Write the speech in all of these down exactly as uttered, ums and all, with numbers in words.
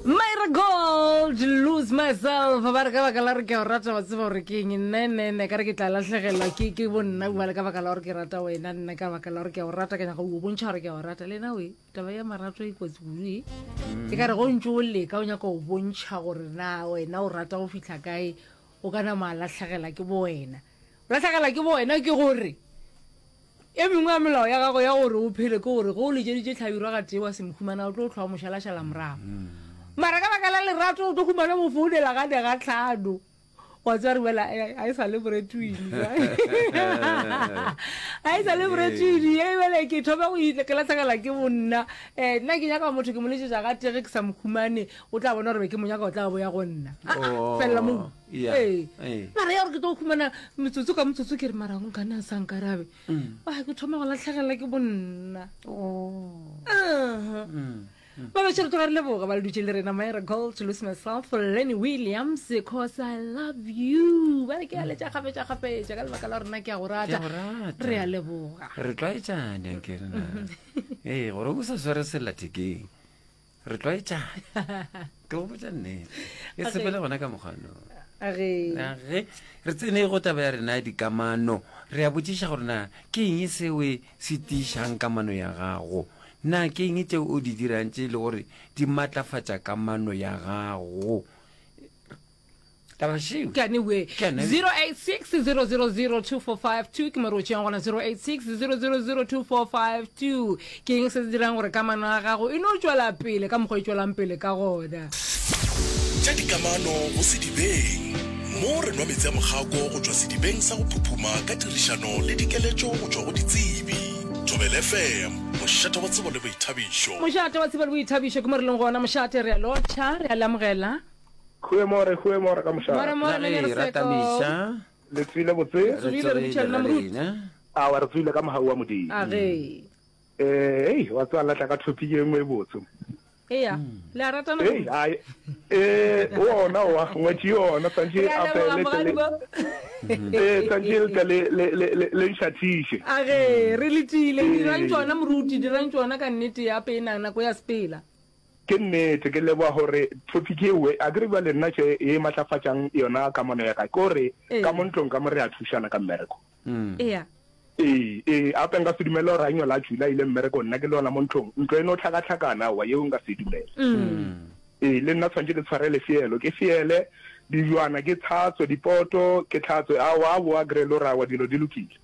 Myra Gold lose myself ba re ka baka la re ke a o rata wa tseba gore ke eng nne nne nne ka re ke tla lahlegelwa ke ke bo nna bale ka baka la gore ke rata wena nna ka baka la gore ke a o rata ke nyaka go bontšha gore ke a o rata le na we taba ya marato e kotsi kudu e e ka re go ntse o leka o nyaka go bontšha gore na wena o rata go fihla kae o ka nama a lahlegela ke bo wena o lahlegela ke bo wena ke gore E mengwe ya melao ya gago ya gore o phele ke gore ge o letšeditše Hlabirwa gatee wa se mo humana o tlo hlwa o mo šalašala morago. Mara ka baka la lerato o tlo humana mo founela gane ga hlano. Wa tseba re bolela a e sa le Bretwini. A e sa le Bretwini e bjale ke thoma go ke lahlegelwa ke bonna. Eh nna ke nyaka motho ke mo letšetša gatee ge ke sa mo humane o tla bona gore be ke mo nyaka o tla boya go nna. Ah, felela moo. Ee. Mara ya gore ke tlo humana metsotso ka motsotso ke re mara nkane a sa nkarabe. Mm. A ke thoma go latlhegelwa ke bonna. Oh. Uh-huh. Mm. Ba bešo re tloga re leboga ba le dutše le rena Myra Gold to lose myself Lenny Williams cause I love you ba re ke a letša kgafetša kgafetša ka lebaka la rena ke a go Ke rata a go rata. re a leboga Re tlwaetšane ke re na. Ee, gore o sa sware sellathekeng. Re tlwaetšane. Ke go botša nnete. E Age. sepele gona ka mokgwano. Age. Age. Re tsene go taba ya rena ya dikamano. Re a botšiša gore na ke eng seo se tiišang kamano ya gago. Na ke eng tšeo o di dirang tše e le gore di matlafatša kamano ya gago. Taba šeo. Ke ane we. Ke ane. zero eight six zero zero zero two four five two ke mo re o tšeang gona zero eight six zero zero zero two four five two. Ke eng se se dirang gore kamano ya gago e no tšwela pele ka mokgwa e tšwelang pele ka gona? Tša dikamano go sedibeng. Mo re nwa meetse a mokgako go tšwa sedibeng sa go phuphuma ka tirišano le dikeletšo go tšwa go ditsebi. Thobela F M, mošate wa tsebo le boithabišo. Mošate wa tsebo le boithabišo ke mo re leng gona. Mošate, re a lotšha, re a le amogela. Goeiemôre, goeiemôre ka mošate. More, more, La Meneer ge Seko. ratamiša. Le tswile botse? Re Re tsogile, re tsogile butša lena ra moruti. lena. Awa, re tswile ka mogau wa Modimo. A ge. Eh, hei, wa tseba la tla ka topic e nngwe e botse. Eya, le a ratana Hei, moruti. ai, eh, ona oa, ngwetši yona, tshwantše Re a a leboga fele tle le, mogadibo. eh, tshwantše le tle le, le, le, le, le nšathiše. A ge, re letile. Dirang Ee. tšona moruti, dirang tšona ka nnete ya pena, nako ya sepela. Ke nnete, ke leboga gore topic ewe, akere bjale nna tše ye matlafatšang yona kamano ya ka, ke gore ka mo ntlong ka mo re a thušana ka mmereko. Eya. Ee, ee, gape nka se dumele gore a nyola a tšwile a ile mmerekong, nna ke le yona mo ntlong, ntlo e no hlakahlakana, aowa, yeo nka se e dumele. Ee, le nna tshwanetše ke tshware lefielo, ke fiele dijwana, ke tlhatswe dipoto, ke tlhatswe, aowa, a boa kry-e le gore aowa dilo di lokile.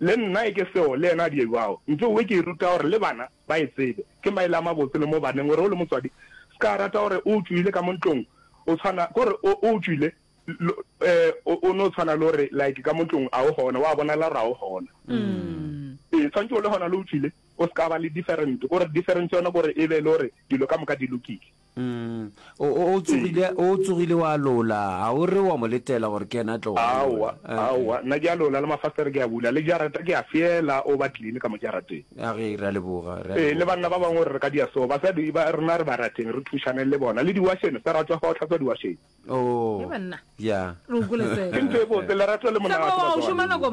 Le nna e ke seo, le yena a di ebao. Ntho ewe ke e ruta gore le bana ba e tsebe. Ke maele a mabotse le mo baneng gore o le motswadi se ka rata gore o tšwile ka mo ntlong o tshwana kore o o tšwile eh o no tshwana le gore like ka mo ntlong a o gona wa bonala gore a o gona. Ee tshwantse o le gona le o tšwile o se ka ba le different kore difference yona kore e be le gore dilo ka moka di lokile. Mm. O, o, o tsogile, o tsogile wa lola, ga o re wa mo letela gore ke yena a tlo go Aowa, lola. Eh, eh. aowa, nna ke a lola le mafastere ke a bula, le jarata ke a fiela, o ba clean ka mo jarateng. A ge, re a leboga, re a Ee, le leboga. banna ba bangwe gore re ka dia so, basadi ba rena re ba rateng, re thušaneng le bona, le diwašene, se ratwa fa o hlatswa diwašene. Oh, Ye banna. ya. Re o kwele Ke Seko. ntho e botse, lerato le Seko monate wa o šoma batswadi. nako